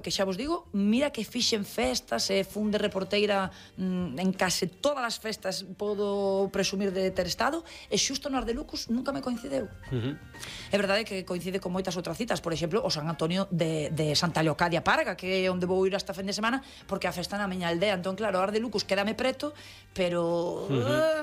que xa vos digo, mira que fixen festas e fun de reporteira en case todas as festas podo presumir de ter estado, e xusto no Ardelucus nunca me coincideu. É verdade que coincide con moitas outras citas, por exemplo, o San Antonio de Santa Leocadia Parga, que é onde vou ir esta fin de semana, porque a festa na miña aldea. Entón, claro, o Ardelucus quédame preto, pero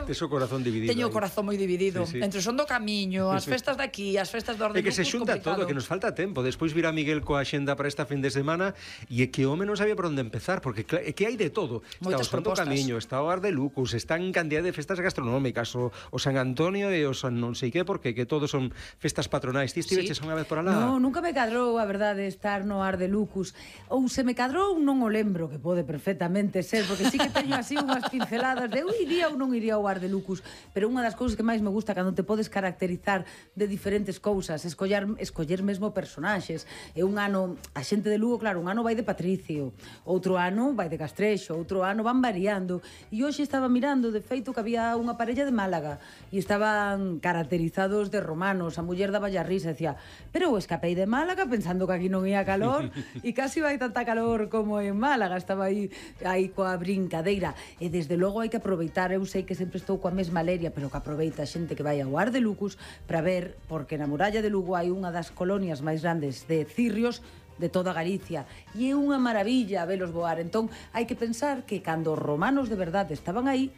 tes o corazón dividido. Teño o corazón moi dividido. Entre Son do Camiño, as festas de aquí, as festas do Ardelucus. É que se xunta todo, que nos falta tempo. Despois virá Miguel coa xenda para esta fin de semana, e é que o home non sabía por onde empezar, porque é que hai de todo. Está o Son do Camiño, está o Ardelucus, están cantidad de festas gastronómicas, o San Antonio e o San non sei que, porque que todos son festas patronais. Ti estiveches unha vez por alá? Non, nunca me cadrou, a verdade, estar no Ardelucus. Ou se me cadrou, non o lembro, que pode perfectamente ser, porque sí que teño así unhas pinceladas de iría ou non iría ao Ardelucus, pero unha das cousas que máis me gusta cando te podes caracterizar de diferentes cousas, escoller mesmo personaxes. E un ano, a xente de Lugo, claro, un ano vai de Patricio, outro ano vai de Castrexo, outro ano van variando, e hoxe estaba mirando, de feito, que había unha parella de Málaga e estaban caracterizados de romanos. A muller daba a risa e decía, pero eu escapei de Málaga pensando que aquí non ia calor e casi vai tanta calor como en Málaga. Estaba aí coa brincadeira, e desde logo hai que aproveitar. Eu sei que sempre estou coa mesma leria, pero que aproveita a xente que vai ao Ardelucus para ver, porque na muralla de Lugo hai unha das colonias máis grandes de cirrios de toda Galicia, e é unha maravilla velos voar. Entón, hai que pensar que cando os romanos de verdade estaban aí,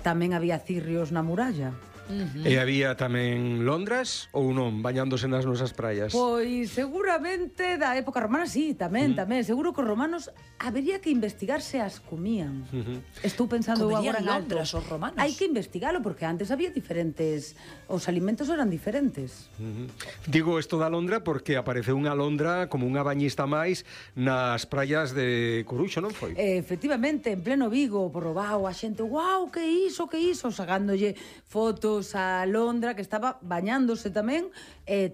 tamén había cirrios na muralla. E había tamén Londras ou non, bañándose nas nosas praias? Pois seguramente da época romana sí, tamén. Seguro que os romanos habería que investigar se as comían. Estou pensando agora en Londres os romanos. Hai que investigalo, porque antes había diferentes, os alimentos eran diferentes. Digo isto da Londra porque apareceu unha Londra como unha bañista máis nas praias de Coruxo, non foi? Efectivamente, en pleno Vigo, por Robao, a xente, guau, que iso, sacándolle fotos a Londra, que estaba bañándose tamén,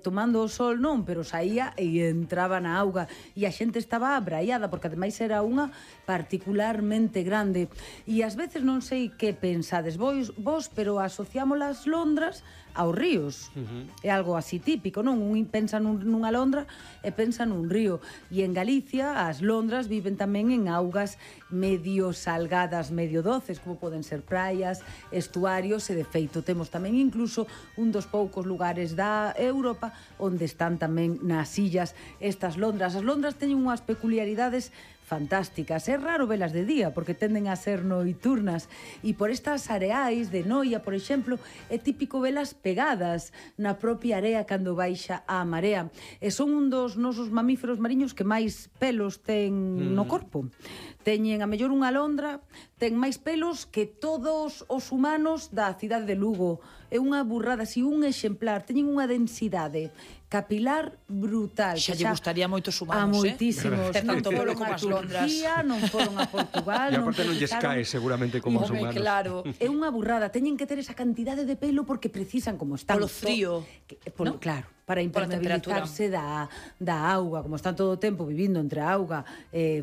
tomando o sol non, pero saía e entraba na auga, e a xente estaba abraiada, porque ademais era unha particularmente grande. E ás veces non sei que pensades vos, pero asociámos as Londras aos ríos. É algo así típico, non? Un pensa nunha Londra e pensa nun río. E en Galicia as Londras viven tamén en augas medio salgadas, medio doces, como poden ser praias, estuarios, e de feito temos tamén incluso un dos poucos lugares da Europa onde están tamén nas illas estas Londras. As Londras teñen unhas peculiaridades fantásticas. É raro velas de día porque tenden a ser noiturnas, e por estas areais de Noia, por exemplo, é típico velas pegadas na propia area cando baixa a marea, e son un dos nosos mamíferos mariños que máis pelos ten no corpo. Teñen a mellor unha alondra, ten máis pelos que todos os humanos da cidade de Lugo. É unha burrada, así un exemplar, teñen unha densidade capilar brutal. Xa lle gustaría moitos humanos, a moitísimos. Ter tanto pelo como as Londras. Non foron a Portugal. E aparte non lles cae seguramente como os humanos. Claro. É unha burrada, teñen que ter esa cantidade de pelo porque precisan, como están polo frío, ¿no? Claro, para impermeabilizarse da auga, como están todo o tempo vivindo entre a auga,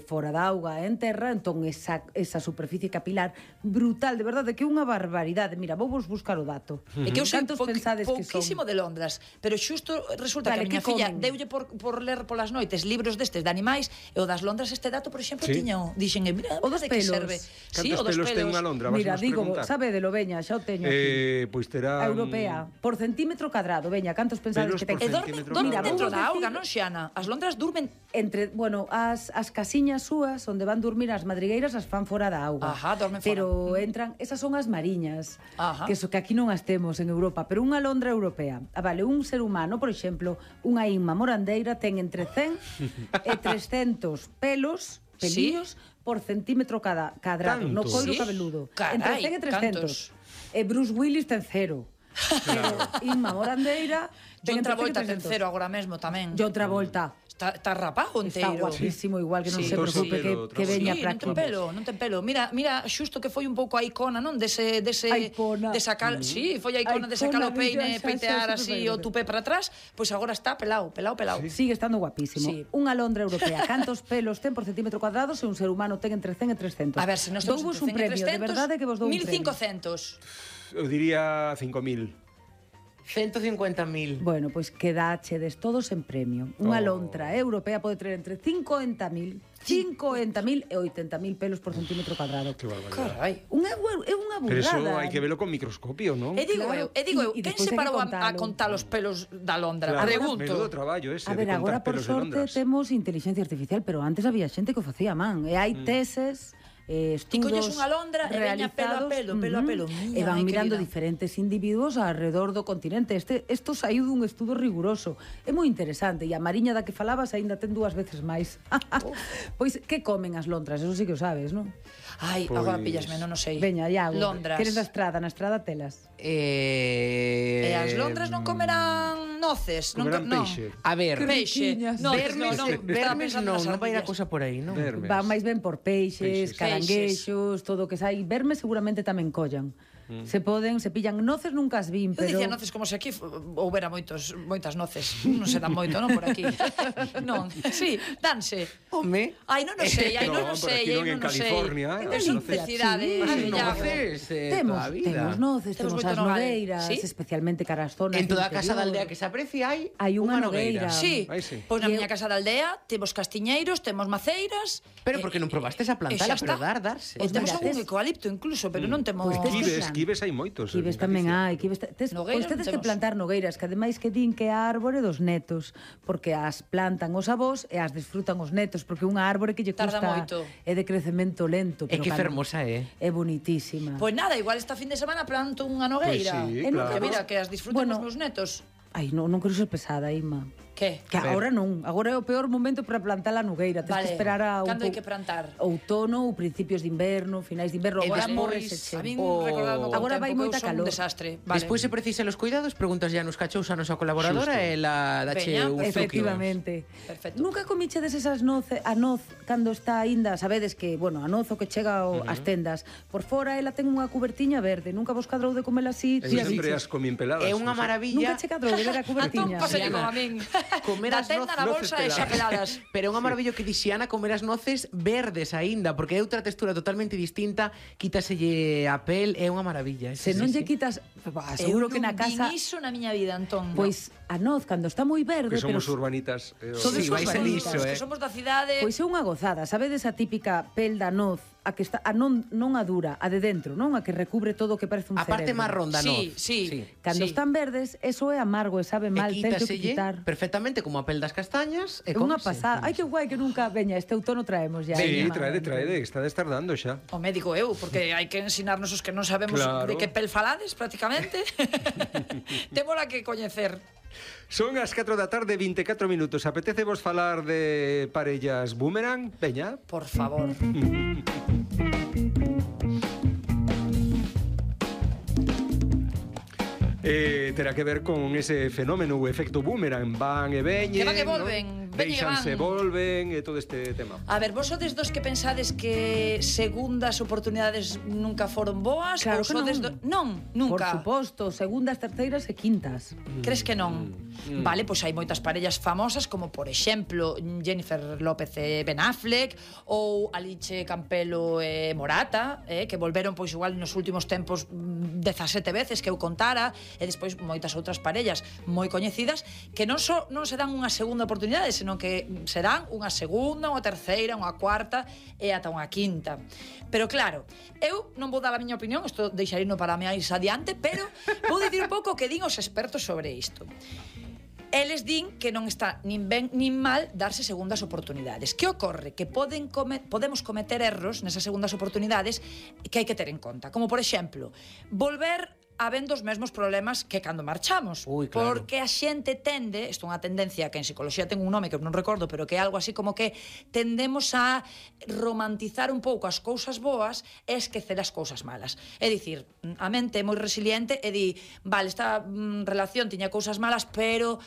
fora da auga e en terra, entón esa superficie capilar brutal, de verdade, que é unha barbaridade. Mira, vou vos buscar o dato. É que eu sei pouquísimo de Londras, pero xusto resulta que a miña filla deulle por ler polas noites libros destes de animais, e o das Londras este dato, por exemplo, dixen, mira, o dos pelos. Cantos pelos ten unha Londra? Mira, digo, sabe de lo, veña, xa o teño aquí. Pois terá... A europea, por centímetro cadrado, veña, cantos pensades que ten? E dormen dentro da auga, non, Xiana? As Londras durmen... As casiñas súas, onde van dormir as madrigueiras, as fan fora da auga. Dormen fora. Pero entran, esas son as mariñas, que aquí non as temos en Europa, pero unha Londra europea. Vale, un ser humano, por exemplo, unha inma morandeira ten entre 100 e 300 pelillos por centímetro cadrado, no coiro cabeludo. Entre 100 e 300. E Bruce Willis ten 0. Pero Inma Morandeira John Travolta ten 0 agora mesmo tamén. John Travolta está rapado enteiro. Está guapísimo, igual que non se preocupe que veña para aquí. Non ten pelo. Mira, xusto que foi un pouco a icona, non? Desa cal, sí, foi a icona de sacar o peine, peitear así o tupé para atrás, pois agora está pelao. Sigue estando guapísimo. Unha Londra europea. Cantos pelos ten por centímetro cuadrado se un ser humano ten entre 100 e 300? A ver, se nos temos un premio, de verdade que vos dou un premio. 1500. Eu diría 5000. 150.000. Bueno, pois quedachedes todos en premio. Unha lontra europea pode ter entre 50.000 e 80.000 pelos por centímetro cuadrado. Que barbaridade. Carai. É unha Pero eso burrada. hai que verlo con microscopio, non? E digo Claro, eu, e quen despois se hai que parou a contalo. contar os pelos da Londra? Claro, Pregunto. menudo traballo ese A ver, de agora contar por pelos de sorte Londras. temos inteligencia artificial, pero antes había xente que o facía a man. E hai teses, Ti colles estudos unha londra e veña pelo a realizados, pelo, pelo a pelo. e van Ai, mirando querida. diferentes individuos alrededor do continente. Isto saiu dun estudo riguroso. É moi interesante. E a mariña da que falabas aínda ten 2 veces máis. Pois, que comen as lontras? Eso sí que o sabes, non? Ai, agora pillasme, non o sei. Veña, Iago. Londras. Queres na estrada telas. E as londras non comerán noces, Comerán non. peixe. A ver, Peixe. No, vermes non vai a cousa por aí, non? Vermes. Van máis ben por peixes, Peixes. caranguexos, todo o que sai. Vermes seguramente tamén collan. Se poden, se pillan noces, nunca as vin, Eu pero... dicía noces como se aquí houbera moitas noces. Non se dan moito, non, por aquí. Non, sí, danse. Home, Ai, non o sei, ai, non o No, por sei, aquí non, ai, en non o sei. California, Es as noces noces. cidade, Sí. as Iago. noces Temos, toda a vida. temos noces, Temos temos moito as nogade. nogueiras, Sí? especialmente cara as zonas En toda a do casa da interior. aldea que se aprecie hai Hai unha nogueira. Sí, Ai, sí. pois na E miña casa da aldea temos castiñeiros, temos maceiras. Pero porque non probastes a plantala, pero darse. E temos mira, algún tes- eucalipto incluso, pero non temos... Pois tes que Quibes hai moitos. Quibes en tamén Galicia. hai, quibes Nogueiras pois tedes que temos. plantar nogueiras, que ademais que din que é a árbore dos netos, porque as plantan os avós e as disfrutan os netos, porque unha árbore que lle Tarda custa moito. é de crecemento lento, É pero que cando- fermosa é. É bonitísima. Pois nada, igual esta fin de semana planto unha nogueira. Pois sí, E claro. Que mira, que as disfruten Bueno. os meus netos. Ai, non quero ser pesada, Ima. Que? Que agora non, agora é o peor momento para plantar a nogueira. Tens Vale, que esperar a cando hai que plantar? outono ou principios de inverno, finais de inverno, E agora despois, morreseche. A min O- recordadme Agora vai moita un calor. desastre. Vale. Despois se precisa los cuidados, preguntas ya nos cachous a nosa colaboradora Xusto. e la dache Veña, un zuquio. Efectivamente. Perfecto. Nunca comichedes esas a noz cando está aínda, sabedes que, bueno, a noz o que chega ás tendas, por fora ela ten unha cubertiña verde, nunca vos cadrou de comela así, Eu sempre as comín peladas. É unha non sei. maravilla. Nunca che cadrou de ver a Antón, cubertiña. pásale Diana, como a min. comer Da as tenda na noces bolsa e xa peladas. Pero é unha maravilla que dixiana comer as noces verdes aínda, porque é outra textura totalmente distinta, quítaselle a pel, é unha maravilla. Se non lle quitas, seguro que na casa, Eu non vin iso na miña vida, Antón. pois a noz cando está moi verde, Que somos pero urbanitas. Sodes Sí, vais en urbanitas, iso, que somos da cidade. pois é unha gozada, sabedes a típica pel da noz, a que está a non a dura, a de dentro, non a que recubre todo o que parece un A parte cerebro. marrón da Sí, noz. sí. Cando están verdes, eso é amargo e sabe mal, E tens que quítaselle quitar. perfectamente como a pel das castañas e É unha comese. pasada. Ai, que guai que nunca veña, este outono traemos ya. Sí, Ima. traede, está de estar dando xa. O médico eu, porque hai que ensinarnos os que non sabemos Claro. de que pel falades, prácticamente. Témola que coñecer. Son as 4 da tarde, 24 minutos. Apetece vos falar de parellas boomerang? Veña. Por favor. Terá que ver con ese fenómeno, o efecto boomerang. Van e veñen, Que van e ¿no? volven, veñen e Deixanse, van. volven, e todo este tema. A ver, vos sodes dos que pensades que segundas oportunidades nunca foron boas? Claro ou que sodes non. Non, nunca. Por suposto, segundas, terceiras e quintas. Crees que non? Vale, pois hai moitas parellas famosas como, por exemplo, Jennifer López e Ben Affleck ou Alice Campelo e Morata, que volveron pois igual nos últimos tempos 17 veces que eu contara, e despois moitas outras parellas moi coñecidas que non se dan unha segunda oportunidade, senón que se dan unha segunda, unha terceira, unha cuarta e ata unha quinta. Pero claro, eu non vou dar a miña opinión, isto deixarino para máis adiante, pero vou dicir un pouco o que din os expertos sobre isto. Eles din que non está nin ben nin mal darse segundas oportunidades. Que ocorre? Que podemos cometer erros nesas segundas oportunidades que hai que ter en conta. Como, por exemplo, volver habendo os mesmos problemas que cando marchamos. Ui, claro. Porque a xente tende, isto é unha tendencia que en psicología ten un nome que eu non recordo, pero que é algo así como que tendemos a romantizar un pouco as cousas boas e esquecer as cousas malas. É dicir, a mente é moi resiliente e di, vale, esta relación tiña cousas malas, pero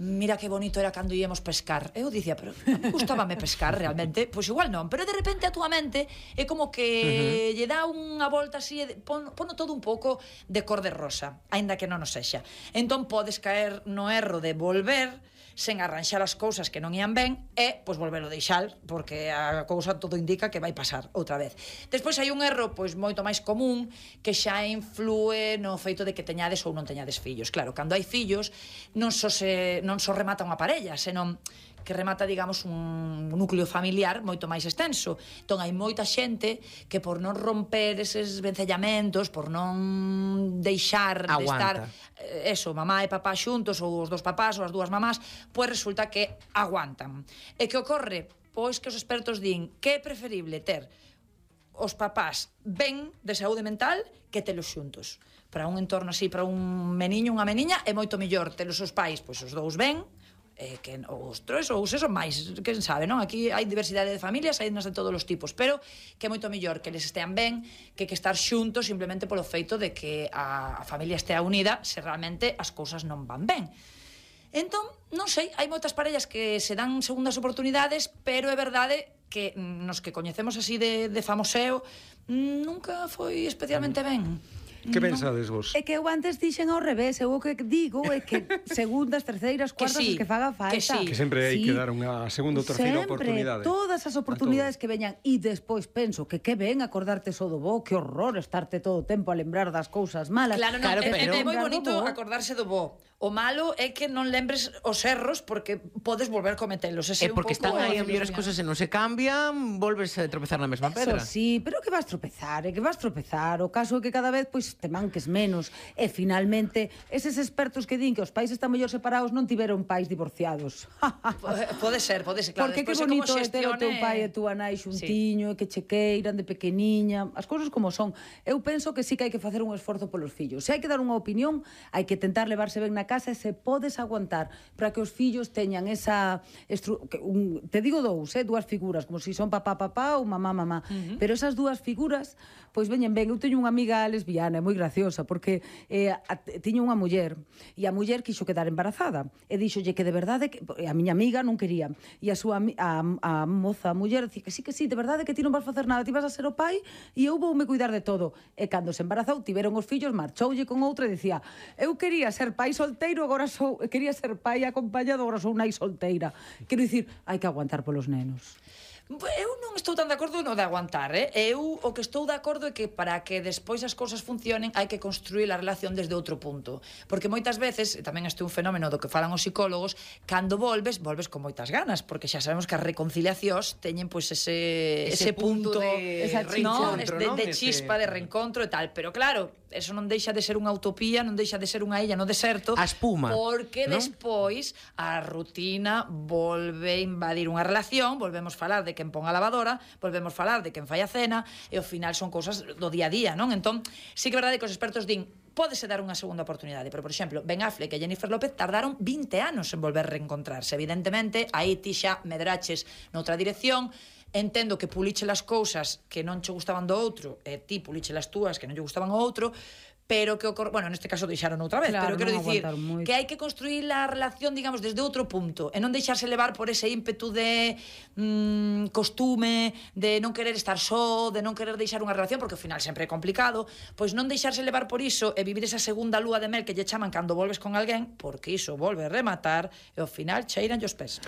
mira que bonito era cando íamos pescar. Eu dicía, pero a mí gustábame pescar realmente. Pois igual non, pero de repente a túa mente é como que lle dá unha volta así e pono todo un pouco de cor de rosa, aínda que non o sexa. Entón podes caer no erro de volver sen arranxar as cousas que non ían ben e, pois, volvelo deixar, porque a cousa todo indica que vai pasar outra vez. Despois hai un erro, pois, moito máis común, que xa influe no feito de que teñades ou non teñades fillos. Claro, cando hai fillos, non só remata unha parella, senón que remata, digamos, un núcleo familiar moito máis extenso. Entón, hai moita xente que por non romper eses vencellamentos, por non deixar de estar mamá e papá xuntos, ou os dos papás ou as dúas mamás, pois resulta que aguantan. E que ocorre? Pois que os expertos din que é preferible ter os papás ben de saúde mental que telos xuntos. Para un entorno así, para un meniño, unha meniña, é moito mellor telos os pais, pois os dous ben, que os tres ou se son máis, quen sabe, non? Aquí hai diversidade de familias, hai de todos os tipos, pero que é moito mellor que les estean ben que estar xuntos simplemente polo feito de que a familia estea unida se realmente as cousas non van ben. Entón, non sei, hai moitas parellas que se dan segundas oportunidades, pero é verdade que nos que coñecemos así de famoseo nunca foi especialmente ben. Que pensades vos? É que eu antes dixen ao revés, eu o que digo é que segundas, terceiras, cuartas, as que faga falta. Que sempre hai que dar unha segunda ou terceira oportunidade. Todas as oportunidades que veñan, e despois penso que ben acordarte só do bo, que horror estarte todo o tempo a lembrar das cousas malas. Claro, é moi bonito acordarse do bo. O malo é que non lembres os erros porque podes volver a cometelos. É porque están aí a mellor as cousas e non se cambian, volves a tropezar na mesma pedra. Eso sí, pero que vas tropezar, O caso é que cada vez pois te manques menos e finalmente eses expertos que din que os pais están mellor separados non tiveron pais divorciados. Pode ser, claro. Porque que bonito é ter o teu pai e túa nai xuntiño, que che queiran de pequeniña, as cousas como son. Eu penso que sí que hai que facer un esforzo polos fillos. Se hai que dar unha opinión, hai que tentar levarse ben na casa e se podes aguantar para que os fillos teñan esa te digo dúas figuras, como se son papá ou mamá, pero esas dúas figuras pois veñen ben. Eu teño unha amiga lesbiana, é moi graciosa, porque tiña unha muller e a muller quixo quedar embarazada e dixolle que de verdade que a miña amiga non quería e a moza, a muller, dicía que sí, de verdade que ti non vas facer nada, ti vas a ser o pai e eu voume cuidar de todo. E cando se embarazou, tiveron os fillos, marchoulle con outra e dicía, eu quería ser pai solteiro, agora quería ser pai acompañado, agora sou nai solteira. Quero dicir, hai que aguantar polos nenos. Eu non estou tan de acordo no de aguantar, Eu o que estou de acordo é que para que despois as cousas funcionen hai que construir a relación desde outro punto. Porque moitas veces, tamén este é un fenómeno do que falan os psicólogos, cando volves con moitas ganas, porque xa sabemos que as reconciliacións teñen pois ese punto de chispa, de reencontro e tal. Pero claro, eso non deixa de ser unha utopía, non deixa de ser unha illa no deserto. A espuma. Porque despois a rutina volve a invadir unha relación, volvemos falar de quen pon a lavadora, volvemos falar de quen fai a cena, e ao final son cousas do día a día, non? Entón, sí que é verdade que os expertos din pódese dar unha segunda oportunidade, pero, por exemplo, Ben Affleck e Jennifer López tardaron 20 anos en volver a reencontrarse. Evidentemente, aí ti xa medraches noutra dirección, entendo que puliche as cousas que non che gustaban do outro, e ti puliche as túas que non lle gustaban ao outro, pero que ocorre, bueno, neste caso deixaron outra vez, claro, pero quero dicir que hai que construir a relación, digamos, desde outro punto, e non deixarse levar por ese ímpetu de costume, de non querer estar só, de non querer deixar unha relación, porque ao final sempre é complicado, pois non deixarse levar por iso e vivir esa segunda lúa de mel que lle chaman cando volves con alguén, porque iso volve a rematar e ao final cheiran os pés.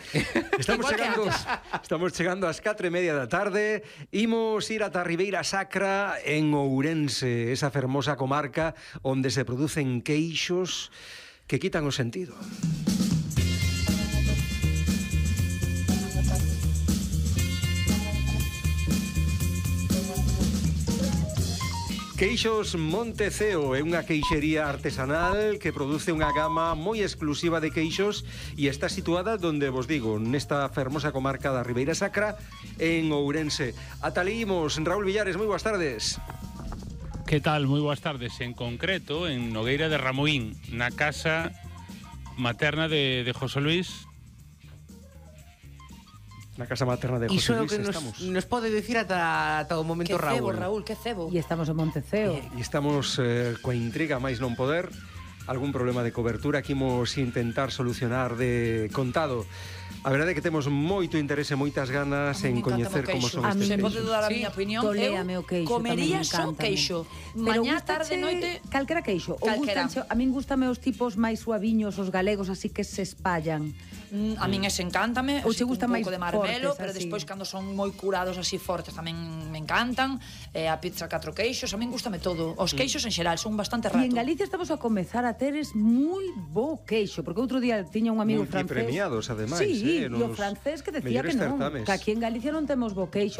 Estamos chegando ás 4:30 da tarde, imos ir ata Ribeira Sacra en Ourense, esa fermosa comarca onde se producen queixos que quitan o sentido. Queixos Monteceo é unha queixería artesanal que produce unha gama moi exclusiva de queixos e está situada donde vos digo, nesta fermosa comarca da Ribeira Sacra en Ourense. Ata ali imos, Raúl Villares, moi boas tardes. Que tal? Moi boas tardes. En concreto, en Nogueira de Ramuín, na casa materna de José Luis. Na casa materna de José Luis estamos. Iso nos pode dicir ata o momento, Raúl. Que cebo. E estamos en Monteceo. E estamos coa intriga máis non poder. Algún problema de cobertura que imos intentar solucionar de contado. A verdade é que temos moito interese, moitas ganas en coñecer como son estes queixos. Se pode dar a miña opinión, eu comería só queixo. Mañá, tarde, noite... Calquera queixo. A min gustame os tipos máis suaviños, os galegos, así que se espallan. A min ese encántame, Ou che gusta un máis pouco de marmelo, fortes, pero así? despois cando son moi curados así fortes tamén me encantan. A pizza 4 queixos, a min gustame todo. Os queixos en xeral son bastante E en rato. Galicia estamos a comezar a teres moi bo queixo, porque outro día tiña un amigo francés. Multipremiados, ademais, Sí, e o nos francés que decía que mellores non, certames. que aquí en Galicia non temos bo queixo.